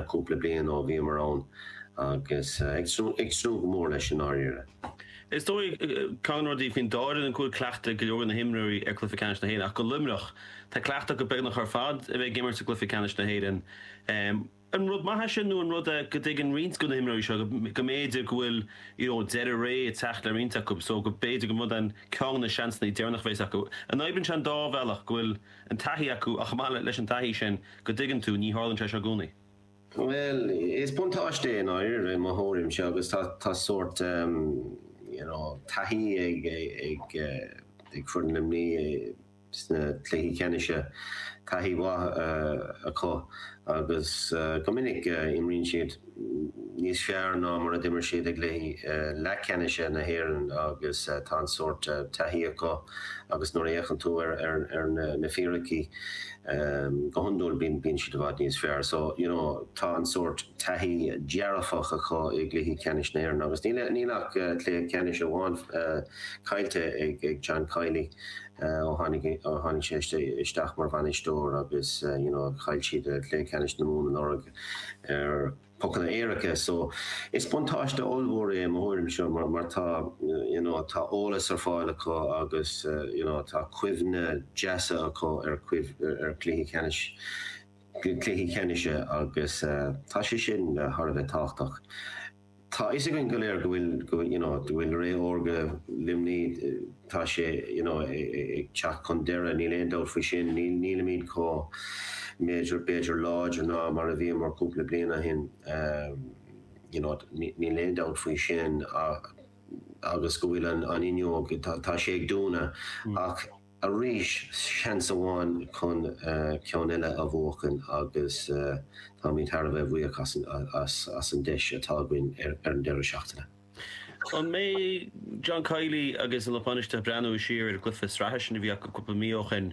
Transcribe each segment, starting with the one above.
cúpla bliain ó bhíomar ann agus ag tnúth go mór leis i ndáiríre. Is dóigh, ceann de na rudaí faoin dá fhoireann go bhfuil cleachtadh ag go leor de na himreoirí ar Chluiche Ceannais na hÉireann ach do Luimneach, tá cleachtadh acu beagnach ar fad a bheith ag imirt i gCluiche Ceannais na hÉireann. An rud maith é sin nó an rud é go dtuigeann roinnt de na himreoirí seo go mb'fhéidir go bhfuil you know deireadh ré ag teacht le roinnt acu so go mb'fhéidir go rud é an ceann de na seansanna deireanach a bheas acu. An oibríonn sé an dá bhealach go bhfuil an taithí acu ach chomh maith leis an taithí sin go dtuigeann tú ní tharlaíonn sé seo i gcónaí. Bhuel, is buntáiste é i ndáiríre i mo thuairimse agus tá tá sórt you know taithí ag ag ag foireann Luimnigh sna cluichí ceannais, taithí mhaith acu agus go minic imríonn siad níos fearr ná mar a d'imir siad i gcluichí leathcheannais na hÉireann agus tá an sórt taithí acu agus nuair a fhéachann tú ar na fíricí go hiondúil bíonn siad i bhfad níos fearr. So, you know, tá an sórt taithí dearfach acu i gcluichí ceannais na hÉireann agus níl ach cluiche ceannais amháin caillte ag John Kiely ó tháinig ó tháinig sé isteach mar bhainisteoir agus you know chaill siad cluiche ceannais na Mumhan anuraidh ar pocanna éirice. So is buntáiste ollmhór é i mo thuairimse mar mar tá you know tá eolas ar fáil acu agus you know tá cuimhne deasa acu ar ar cluichí ceannais cluichí ceannais agus tá sé sin thar a bheith tábhachtach. Tá fhios againn go léir go bhfuil, go bhfuil, you know, go bhfuil ré órga Luimnigh, tá sé, you know, ag teacht chun deireadh, níl aon dabht faoi sin. Níl, nílimid chomh, b'fhéidir, b'fhéidir láidir ná mar a bhíomar cúpla bliain ó shin, you know, níl aon dabht faoi sin agus go bhfuil an, an fhuinneog, tá, tá sé ag dúnadh ach, Arís, seans amháin chun ceann eile a bhuachan agus táimid thar a bheith buíoch as an deis atá againn ar an deireadh seachtaine. An mbeidh John Kiely agus an lucht bainistithe ag breathnú siar ar an gcluiche sraithe sin a bhí acu cúpla mí ó shin?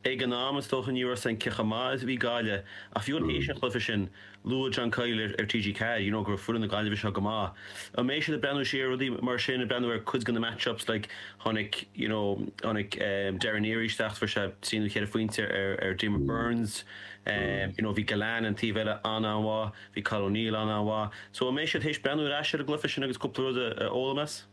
Ag an am, is dócha, ní raibh a fhios againn cé chomh maith is a bhí Gaillimh ach fiú théis an chluiche sin, Luaigh John Kiely ar TG4, you know, go raibh foireann na Gaillimhe seo go maith. An mbeidh siad ag breathnú siar ar rudaí mar sin, ag breathnú ar cuid de na match-ups, like, tháinig, you know, tháinig Darren Neary isteach, fuair sé trí nó cheithre phointe ar, ar Diarmaid Byrnes, you know, bhí Gillane an taobh eile an-an-mhaith, bhí Colin O'Neill an-an-mhaith. So an mbeidh siad théis breathnú ar ais ar an gcluiche sin agus cúpla rud a fhoghlaim as?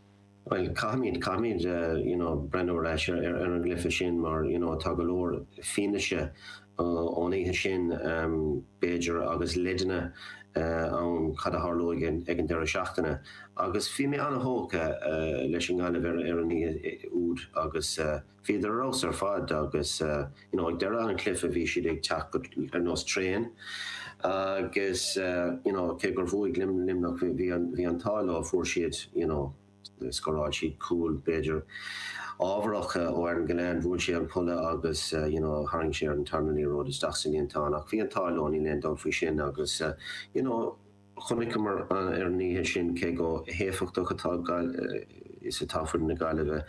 Bhuel, caithfimid, caithfimid, you know, breathnú ar ais ar an gcluiche sin mar, you know, tá go leor fianaise ón oíche sin, b'fhéidir, agus leideanna ann cad a tharlóidh ag an deireadh seachtaine. Agus bhí mé an-thógtha leis an nGaillimh ar an oíche úd agus bhíodar ar fheabhas ar fad agus, you know, ag deireadh an chluiche bhí siad ag teacht go, ar nós traein agus, you know, cé gur bhuaigh Luimneach bhí an, bhí an t-ádh leo, fuair siad, you know, scóráil siad cúl b'fhéidir ábharach ó Aaron Gillane, bhuail sé an polla agus, you know, tharraing sé ar an tarna liathróid isteach sa líontán ach bhí an t-ádh leo, níl aon dabht faoi sin agus, you know, Chonaiceamar ar an oíche sin cé chomh héifeachtach atá is atá foireann na Gaillimhe,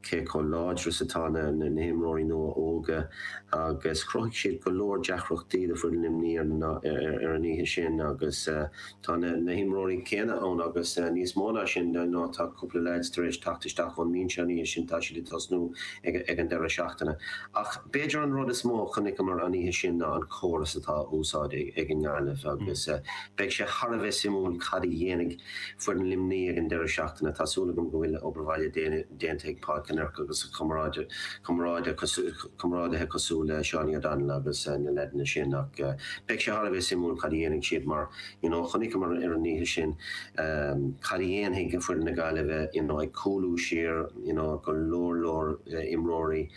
cé chomh láidir is atá na himreoirí nua óga agus chruthaigh siad go leor deacrachtaí do foireann Luimnigh ar an oíche sin agus tá na himreoirí céanna ann agus níos mó ná sin ná tá cúpla leaids tar éis teacht isteach ón mbinse an oíche sin, tá siad ag tosnú ag an deireadh seachtaine. Ach b'fhéidir an rud is mó a chonaiceamar an oíche sin ná an córas atá á úsáid ag an nGaillimh agus beidh sé thar a bheith suimiúil cad a dhéanfaidh foireann Luimnigh ag an deireadh seachtaine. Tá súil agam go bhfuil obair bhaile déanta ag Paul Kinnerk agus a chomrádaithe cosúil le Seánie O'Donnell agus na leaideanna sin ach beidh sé thar a bheith suimiúil cad a dhéanfaidh siad mar you know chonaiceamar ar an oíche sin cad a dhéanfaidh foireann na Gaillimhe you know ag cúlú siar you know go leor leor imreoirí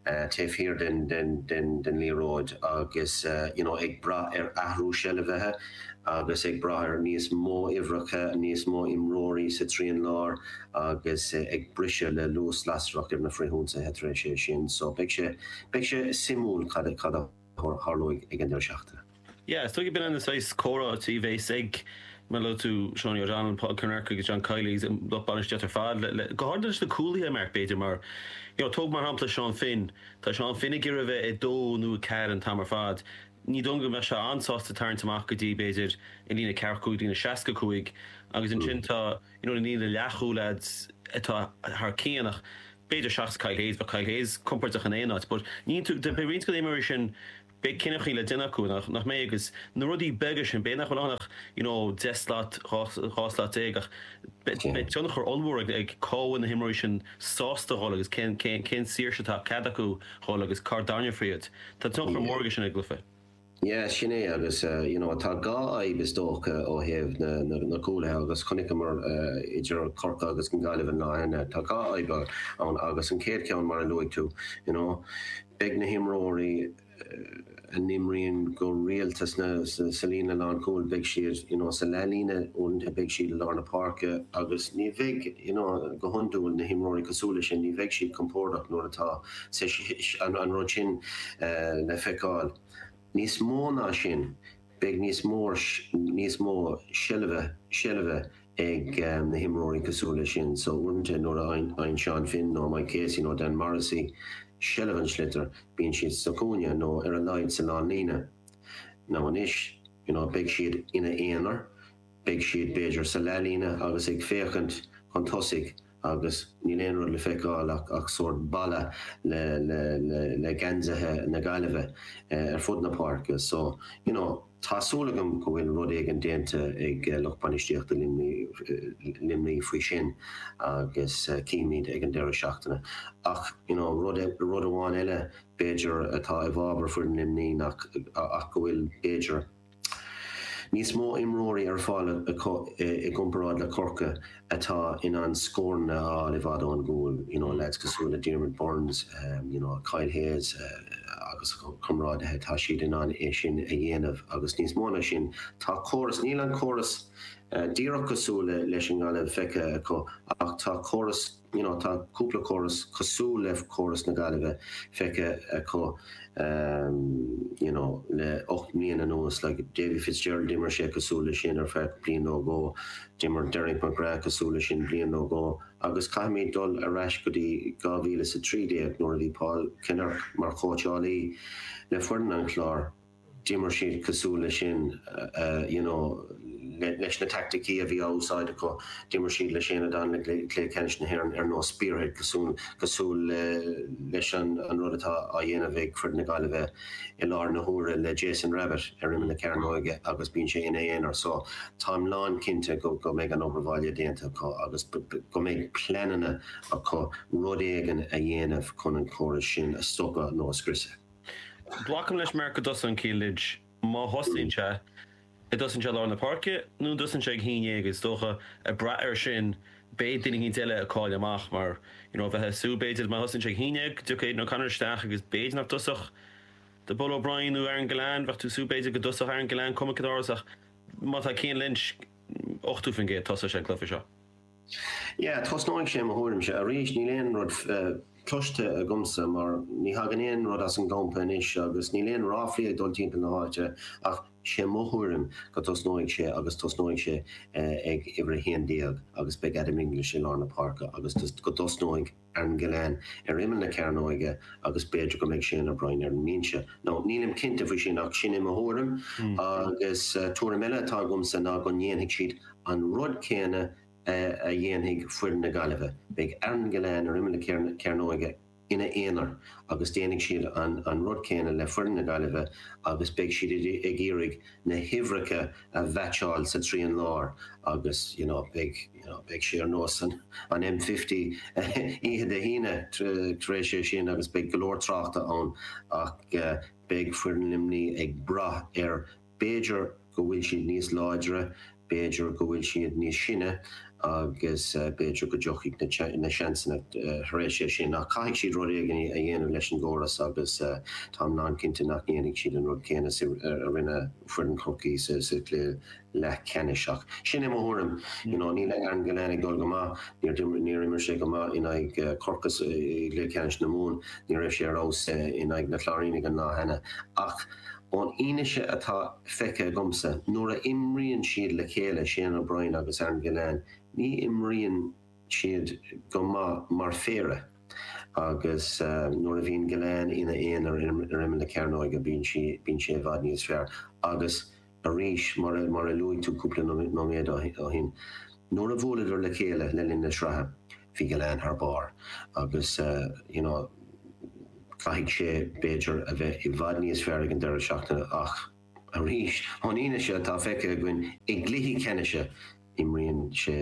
taobh thiar den den den den liathróid agus you know ag brath ar athrú seilbhe agus ag brath ar níos mó uimhreacha, níos mó imreoirí sa trian láir agus ag briseadh le luas lasrach ar na frithionsaithe tar éis é sin. So beidh sé beidh sé suimiúil cad cad a tharlóidh ag an deireadh seachtaine. Yeah, is dóigh b'in an saghas comhráití a bheas ag, mar a luaigh tú, Seánie O'Donnell, Paul Kinnerk agus John Kiely agus an lucht bainistíochta ar fad, le, le, go háirithe leis na cúlaithe, Mark, b'fhéidir, mar, you know, tóg mar shampla Seán Finn, tá Seán Finn ag iarraidh a bheith ag dó nó ag ceathair an t-am ar fad, ní dóigh liom go mbeadh sé an-sásta tarraingt amach go dtí, b'fhéidir, an líne ceathracha 5, líne 65 agus ansin tá, you know, na líne leathchúil lads atá thar cionn ach b'fhéidir seachas Kyle Hayes, bheadh Kyle Hayes compordach in aon áit but ní, beidh roinnt de na himreoirí sin. Beidh cinneadh le déanamh acu, nach mbeidh? Agus na rudaí beaga sin, b'fhéidir nach bhfuil ann ach you know 10 slat, 12 slat ach beidh tionchar ollmhór ag cá bhfuil na himreoirí sin sásta dhul agus cén cén saoirse atá cead acu dhul agus cá dtarraingeofar iad. Tá tionchar mór aige sin ar an gcluiche. Yeah, sin é agus you know tá dhá fhadhb is dócha ó thaobh na na cúlaithe agus chonaiceamar idir Corcaigh agus an Ghaillimh an lá cheana, tá dhá fhadhb ann agus an chéad cheann mar a luaigh tú, you know, Beidh na himreoirí a n-imríonn go rialta sna sa líne lánchúil, beidh siad you know sa leathlíne, uaireanta beidh siad i lár na páirce agus ní bheidh you know go hiondúil na himreoirí cosúil leis sin, ní bheidh siad compordach nuair atá an rud sin le feiceáil. Níos mó ná sin, beidh níos mó níos mó seilbhe seilbhe ag na himreoirí cosúil leis sin so uaireanta nuair a fhaigheann Seán Finn nó Mike Casey nó Dan Morrissey seilbh an tsliotair bíonn siad sa chúinne nó ar a laghad sa lánlíne. Now anois you know beidh siad ina aonar, beidh siad b'fhéidir sa leathlíne agus ag féachaint chun tosaigh agus níl aon rud le feiceáil ach ach sórt balla le le le le geansaithe na Gaillimhe ar fud na páirce so you know Tá súil agam go bhfuil rud éigin déanta ag lucht bainistíochta Luimnigh faoi sin agus cífimid ag an deireadh seachtaine. Ach you know rud rud amháin eile b'fhéidir atá i bhfabhar foireann Luimnigh nach ach go bhfuil b'fhéidir níos mó imreoirí ar fáil acu i gcomparáid le Corcaigh atá in ann scóranna a fháil i bhfad ón gcúl, you know lads cosúil le Diarmaid Byrnes, you know Kyle Hayes agus a chomrádaithe, tá siad in ann é sin a dhéanamh agus níos mó ná sin, tá córas, níl an córas díreach cosúil leis an nGaillimh feicthe acu ach tá córas, you know tá cúpla córas cosúil le córas na Gaillimhe feicthe acu you know le 8 mbliana anuas, like Davy Fitzgerald d'imir sé cosúil leis sin ar feadh bliain nó dhó, D'imir Derek McGrath cosúil leis sin bliain nó dhó agus caithfimid dul ar ais go dtí 2013 nuair a bhí Paul Kinnerk mar chóitseálaí le foireann an Chláir. D'imir siad cosúil leis sin you know leis na teaicticí a bhí á úsáid acu. D'imir siad le Shane O'Donnell i gcluiche ceannais na hÉireann ar nós Spearhead cosúil cosúil leis an rud atá á dhéanamh ag foireann na Gaillimhe i láthair na huaire le Jason Rabbitte ar imeall na cearnóige agus bíonn sé ina aonar so táim lán cinnte go go mbeidh an obair bhaile déanta acu agus go mbeidh pleananna acu rud éigin a dhéanamh chun an córas sin a stopadh nó a scriosadh. Glacaim leis Mark go dtosaíonn Cian Lynch. Má thosaíonn sé, an dtosaíonn sé i lár na páirce nó an dtosaíonn sé ag a haon dhéag? Is dócha, ag brath air sin, beidh duine éicint eile ag cailleadh amach mar, you know, bheifeá ag súil b'fhéidir má thosaíonn sé ag a haon dhéag go dtiocfaidh Aidan O'Connor isteach agus b'fhéidir nach dtosódh The Bull O'Brien nó Aaron Gillane, bheadh tú ag súil b'fhéidir go dtosódh Aaron Gillane, cuma cén áras ach má tá Cian Lynch 80% tosóidh sé an cluiche seo. Yeah, tosnóidh sé i mo thuairimse. Arís, níl aon rud cloiste agamsa mar ní thagann aon rud as an gcampa anois agus níl aon ráflaí ag dul timpeall na háite ach sé mo thuairim go dtosnóidh sé agus tosnóidh sé ag uimhir 11 agus beidh Adam English i lár na páirce agus go dtosnóidh Aaron Gillane ar imeall na cearnóige agus b'fhéidir go mbeidh Shane O'Brien ar an mbinse. Now, nílim cinnte faoi sin ach sin é mo thuairim agus tuairim eile atá agamsa ná go ndéanfaidh siad an rud céanna a dhéanfaidh foireann na Gaillimhe. Beidh Aaron Gillane ar imeall na cearnóige ina aonar agus déanfaidh siad an rud céanna le foireann na Gaillimhe agus beidh siad ag iarraidh na huimhreacha a mheaitseáil sa trian láir agus you know beidh you know beidh sé ar nós an an M50 oíche Dé hAoine tar éis é sin agus beidh go leor tráchta ann ach beidh foireann Luimnigh ag brath ar B'fhéidir go bhfuil siad níos láidre, b'fhéidir go bhfuil siad níos sine agus b'fhéidir go dtiocfaidh na seansanna tar éis é sin. Ach caithfidh siad rud éigin a dhéanamh leis an gcóras agus táim lánchinnte nach ndéanfaidh siad an rud céanna a rinne foireann Chorcaí sa chluiche leathcheannais. Ach sin é mo thuairim. You know, níl Aaron Gillane ag dul go maith. Níor imir sé go maith in aghaidh Chorcaí i gcluiche ceannais na Mumhan. Ní raibh sé ar fheabhas in aghaidh na Cláirínigh an lá cheana. Ach ón fhianaise atá feicthe agamsa, nuair a imríonn siad le chéile, Shane O'Brien agus Aaron Gillane, ní imríonn siad go maith mar phéire agus nuair a bhíonn Gillane ina aonar ar imeall na cearnóige bíonn sé i bhfad níos fearr agus arís, mar a luaigh tú cúpla nóiméad ó shin, nuair a bhuaileadar le chéile le linn na sraithe, bhí Gillane thar barr agus you know. Caithfidh sé, b'fhéidir, a bheith i bhfad níos fearr ag an deireadh seachtaine ach arís, ón fhianaise atá feicthe againn i gcluichí ceannais, imríonn sé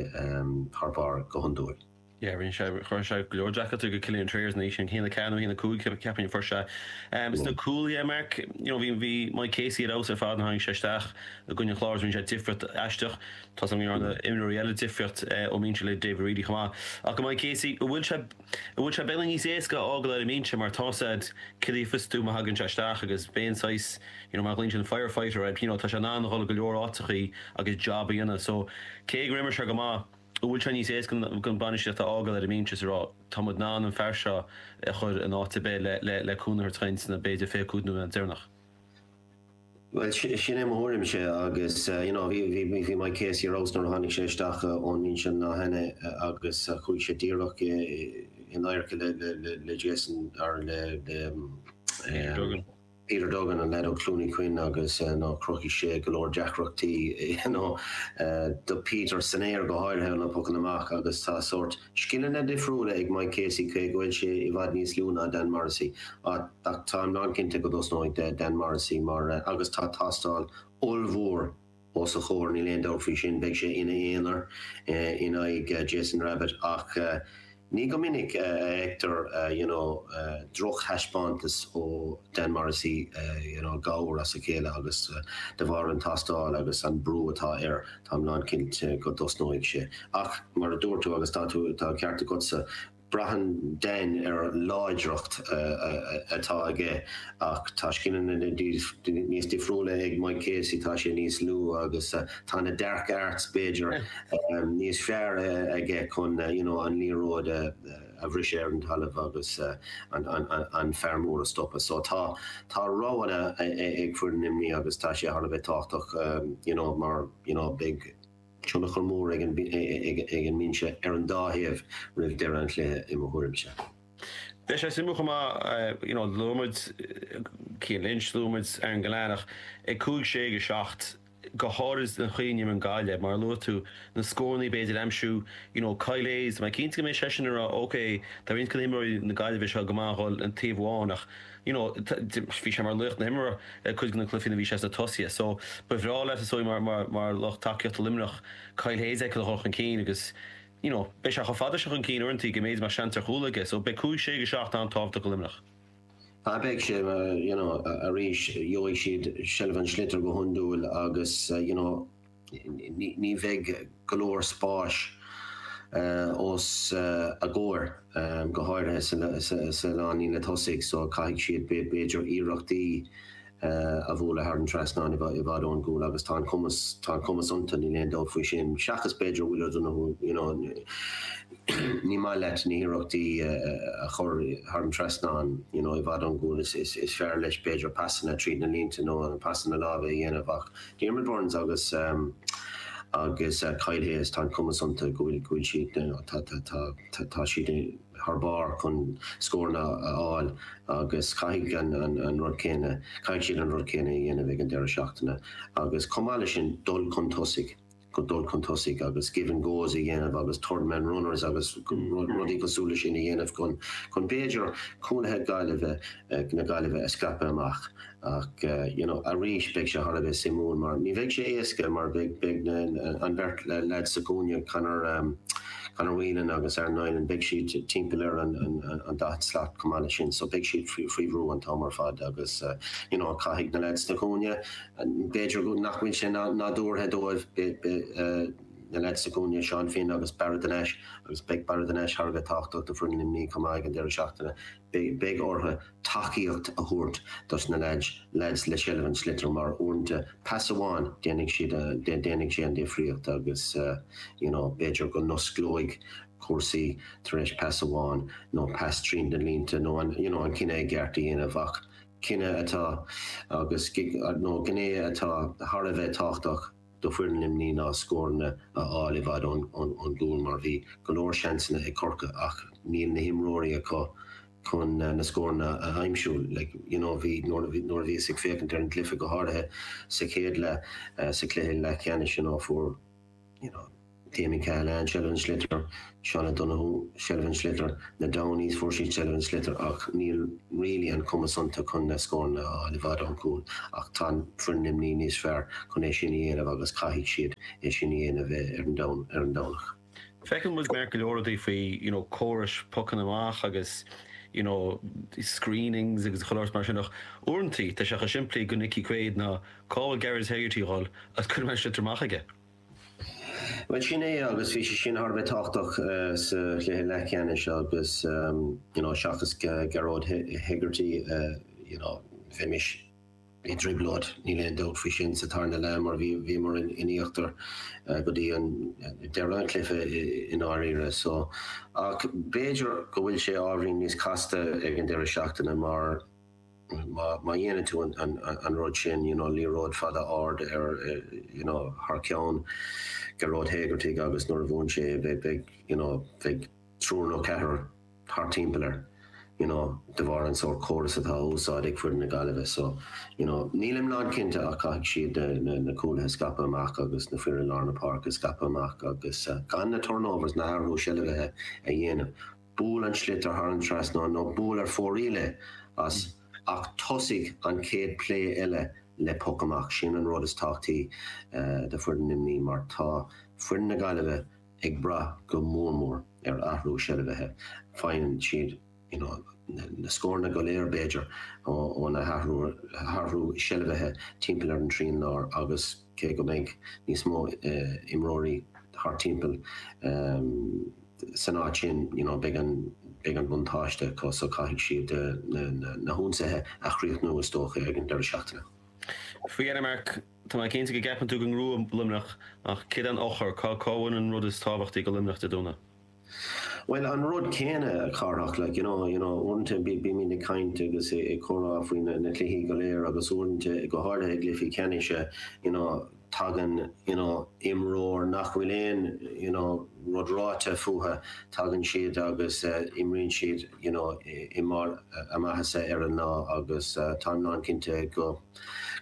thar barr go hiondúil. Yeah, rinne sé, chuir sé go leor deacrachtaí do Killian Trayers an oíche sin, 1-4 nó 1-5 ceapaim a fuair sé. Sna cúlaithe, Mark, you know, bhí, bhí Mike Casey ar fheabhas ar fad nuair a tháinig sé isteach i gcoinne an Chláir agus rinne sé difríocht aisteach. Tá 's agam go ndearna imreoirí eile difríocht ón mbinse le David Reidy chomh maith. Ach go Mike Casey, an bhfuil sé, an bhfuil sé beagnach níos éasca a fhágáil ar an mbinse mar tá 's a'd cad a gheofas tú má thagann sé isteach agus b'é an saghas, you know, mar a ghlaonn siad an firefighter air, you know, tá sé in ann a dhul go leor áiteachaí agus job a dhéanamh. So, cé gur imir sé go maith, An bhfuil sé níos éasca don bainistíocht a fhágáil ar an mbinse is a rá, tá muid in ann an fear seo a chur in áit ar bith le cúnamh a thabhairt dúinn sna b'fhéidir 25 nóiméad deireanach? Bhuel, sin é mo thuairimse agus you know bhí bhí bhí Mike Casey ar fheabhas nuair a tháinig sé isteach ón mbinse an lá cheana agus chuaigh sé díreach in adharca le le le Jason or le le Peter Duggan. Peter Duggan, an leaid ó Chluain Uí Chuinn agus chruthaigh sé go leor deacrachtaí do Peter san aer go háirithe na pocanna amach agus tá sórt scileanna difriúla ag Mike Casey cé go bhfuil sé i bhfad níos lú ná Dan Morrissey ach táim lánchinnte go dtosnóidh Dan Morrissey mar agus tá tástáil ollmhór os a chomhair, níl aon dabht faoi sin. Beidh sé ina aonar in aghaidh Jason Rabbitte ach ní go minic a fheictear you know drochthaispeántas ó Dan Morrissey, you know gabhar as a chéile agus de bharr an tástáil agus an brú atá air, táim lánchinnte go dtosnóidh sé. Ach mar a dúirt tú agus tá tú, tá an ceart agatsa, Braitheann Dan ar láidreacht atá aige ach tá scileanna níos difriúla ag Mike Casey, tá sé níos lú agus tá na dark arts b'fhéidir níos fearr aige chun you know an liathróid a bhriseadh ar an talamh agus an fear mór a stopadh. So tá tá roghanna ag foireann Luimnigh agus tá sé thar a bheith tábhachtach you know mar you know beidh tionchar mór ag an mbinse ar an dá thaobh roimh deireadh an chluiche, i mo thuairimse. Beidh sé suimiúil chomh maith, you know, luaigh muid Cian Lynch, luaigh muid Aaron Gillane ach ag 5, 6, 7, go háirid an chaoi a n-imríonn Gaillimh, mar a luaigh tú, na scóranna b'fhéidir a aimsiú, you know, Kyle Hayes, mé cinnte go mbeidh seisean ag rá ok, tá roinnt de na himreoirí na Gaillimhe seo go maith a dhul an taobh amháin ach, you know, bhí sé mar laoch na himeartha cuid de na cluichí nuair a bhí sé sna tosaithe. So, ba bhreá leat is dóigh mar, mar, mar lucht tacaíochta Luimneach, Kyle Hayes a fheiceáil ag dhul chun cinn agus, you know, beidh sé chomh fada sin chun cinn uaireanta go mb'fhéidir go mbeadh seans ar chúl aige. So, beidh 5, 6 go 7 an-tábhachtach do Luimneach. Ah, beidh sé, you know, arís, gheobhaidh siad seilbh an tsliotair go hiondúil agus, you know, ní bheidh go leor spáis os a gcomhair, go háirithe sa lánlíne tosaigh, so caithfidh siad b'fhéidir iarrachtaí a bhualadh thar an trasnán i bhfad ón gcúl agus tá an cumas, tá an cumas iontu, níl aon dabht faoi sin, seachas b'fhéidir Will O'Donoghue, you know, ní maith leat na hiarrachtaí a chur thar an trasnán, you know, i bhfad ón gcúl, is fearr leis b'fhéidir pasanna tríd na línte nó pasanna láimhe a dhéanamh ach Diarmaid Byrnes agus agus Kyle Hayes, tá an cumas iontu go bhfuil go bhfuil siad tá tá tá tá siad thar barr chun scóranna a fháil agus caithfidh an an an rud céanna caithfidh siad an rud céanna a dhéanamh ag an deireadh seachtaine agus chomh maith leis sin dul chun tosaigh. go dul chun tosaigh agus give and goes a dhéanamh agus third man runners agus rudaí cosúil leis sin a dhéanamh chun chun b'fhéidir cúlaithe Gaillimhe na Gaillimhe a scaipeadh amach ach you know arís beidh sé thar a bheith suimiúil mar ní bheidh sé éasca mar beidh beidh na an bheirt leaid sa chúinne Conor Conor Whelan agus Aaron Niland beidh siad timpeall ar an an an 40 slat chomh maith leis sin so beidh siad faoi faoi bhrú an t-am ar fad agus you know caithfidh na leaids sna cúinne B'fhéidir nach bhfuil sé nádúrtha dóibh na leaids sa gcúinne, Seán Finn agus Barra de Nash, agus beidh Barra de Nash thar a bheith tábhachtach do foireann Luimnigh chomh maith ag an deireadh seachtaine. Beidh orthu tacaíocht a thabhairt dos na leaids, leaids le seilbh an tsliotair mar uaireanta pas amháin déanfaidh siad, déanfaidh sé an difríocht agus you know b'fhéidir go n-osclóidh cúrsaí tar éis pas amháin nó pas tríd na línte nó an you know an cinneadh i gceart a dhéanamh ach cinneadh atá agus, nó gné atá thar a bheith tábhachtach do foireann Luimnigh ná scóranna a fháil i bhfad ón gcúl mar bhí go leor seansanna ag Corcaigh ach níl na himreoirí acu chun na scóranna a aimsiú. Like, you know, bhí, nuair a bhíos ag féachaint ar an gcluiche go háirithe sa chéad leath, sa chluiche leathcheannais, you know, fuair, you know. Damien Cahalane seilbh an sliotair, Seán O'Donoghue seilbh an sliotair, na Downeys fuair siad seilbh an sliotair ach níl really an cumas iontu chun na scóranna a fháil i bhfad ón gcúl ach tá foireann Luimnigh níos fearr chun é sin a dhéanamh agus caithfidh siad é sin a dhéanamh ar an Domhnach. Feiceann muid Mark go leor rudaí faoi you know córais pocanna amach agus you know screenings agus chuile shórt mar sin ach uaireantaí tá sé chomh simplí do Nickie Quaid ná cá bhfuil Gearóid Hegarty a dhul agus cuirfidh mé an sliotar amach aige. Bhuel sin é agus bhí sé sin thar a bheith tábhachtach sa chluiche leathcheannais agus you know seachas Gearóid Hegarty you know bheimis i dtrioblóid, níl aon dabht faoi sin, sa tarna leath mar bhí bhíomar in íochtar go dtí an deireadh an chluiche i ndáiríre. So ach b'fhéidir go bhfuil sé ábhairín níos casta ag an deireadh seachtaine mar má dhéanann tú an rud sin, you know, liathróid fada ard ar, you know, thar ceann Gearóid Hegarty agus nuair a bhuann sé beidh, you know, beidh triúr nó ceathrar thart timpeall air, you know, de bharr an sórt córas atá á úsáid ag foireann na Gaillimhe. So, you know, nílim lán cinnte ach caithfidh siad na, na cúlaithe a scaipeadh amach agus na fir i lár na páirce a scaipeadh amach agus gan na turnovers, na hathrú seilbhithe a dhéanamh. Buail an sliotar thar an trasnán nó buail ar fóraoil é as ach tosaigh an chéad plé eile le poc amach. Sin an rud is tábhachtaí do foireann Luimnigh mar tá foireann na Gaillimhe ag brath go mór mór ar athrú seilbhithe. Faigheann siad you know na scóranna go léir b'fhéidir ó na hathrú seilbhithe timpeall ar an trian láir agus cé go mbeidh níos mó imreoirí thart timpeall san áit sin you know beidh an beidh an buntáiste acu so caithfidh siad na na hionsaithe a chríochnú is dócha ag an deireadh seachtaine. Faoi dheireadh Mark, tá mé cinnte go gceapann tú go ngnóthóidh Luimneach ach céard é an eochair, cá cá bhfuil an rud is tábhachtaí do Luimneach Dé Domhnaigh? Bhuel an rud céanna a Chárthach like you know you know uaireanta bímid ag caint agus ag comhrá faoi na na cluichí go léir agus uaireanta go háirithe i gcluichí ceannais you know tagann you know imreoir nach bhfuil aon you know rud ráite fúthu, tagann siad agus imríonn siad you know i mbarr a maitheasa ar an lá agus táim lán cinnte go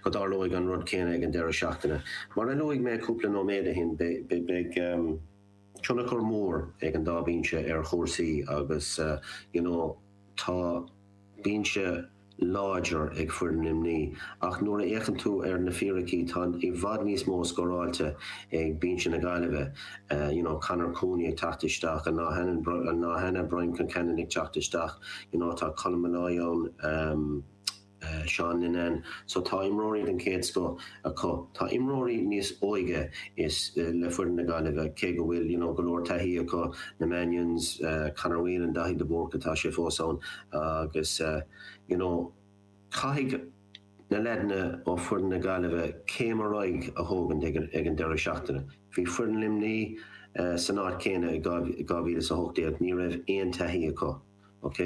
go dtarlóidh an rud céanna ag an deireadh seachtaine. Mar a luaigh mé cúpla nóiméad ó shin beidh tionchar mór ag an dá bhinse ar chúrsaí agus you know tá binse láidir ag foireann Luimnigh ach nuair a fhéachann tú ar na fíricí tá i bhfad níos mó scóráilte ag binse na Gaillimhe. You know Conor Cooney ag teacht isteach, an lá an lá cheana Brian Concannon ag teacht isteach, you know tá Colm Molloy ann, Seán Linnane. So tá imreoirí den chéad scoth acu. Tá imreoirí níos óige is le foireann na Gaillimhe cé go bhfuil you know go leor taithí acu, na Mannions, Conor Whelan, Daithí de Búrca tá sé fós ann agus you know caithfidh na leaideanna ó foireann na Gaillimhe céim ar aghaidh a thógaint ag ag an deireadh seachtaine. Bhí foireann Luimnigh san áit céanna i 2018, ní raibh aon taithí acu. Ok,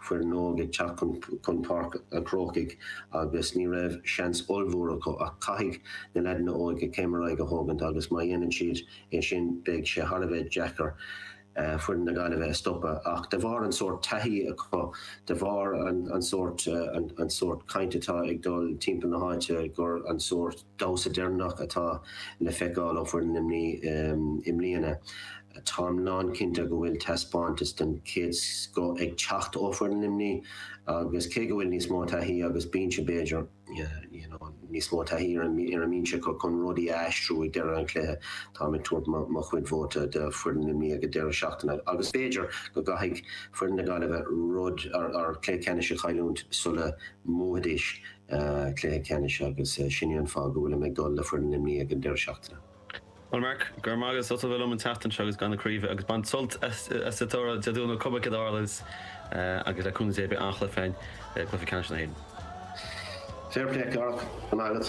foireann óg ag teacht chun chun Páirc an Chrócaigh agus ní raibh seans ollmhór acu ach caithfidh na leaideanna óga céim ar aghaidh a thógaint agus má dhéanann siad é sin beidh sé thar a bheith deacair foireann na Gaillimhe a stopadh. Ach de bharr an sórt taithí acu, de bharr an sórt an sórt caint atá ag dul timpeall na háite gur an sórt damhsa deireanach atá le feiceáil ó foireann Luimnigh i mbliana, táim lán cinnte go bhfuil taispeántas den chéad scoth ag teacht ó foireann Luimnigh agus cé go bhfuil níos mó taithí agus binse b'fhéidir, you know níos mó taithí ar an ar an mbinse acu chun rudaí a aistriú ag deireadh an chluiche. Táim ag tabhairt mo chuid vóta do foireann Luimnigh ag an deireadh seachtaine agus b'fhéidir go gcaithfidh foireann na Gaillimhe rud ar cluiche ceannais a chailliúint sula mbuafaidís cluiche ceannais agus sin é an fáth go bhfuilim ag dul le foireann Luimnigh ag an deireadh seachtaine. Bhuel Mark, go raibh maith agat as ucht a bheith liom an tseachtain seo agus gan na craoibhe agus bain sult as an toradh Dé Domhnaigh cuma céard a tharlaíonns agus le cúnamh Dé beidh an-chluiche againn i gcluiche ceannais na hÉireann. Fair play, Cárthach. Go raibh maith agat.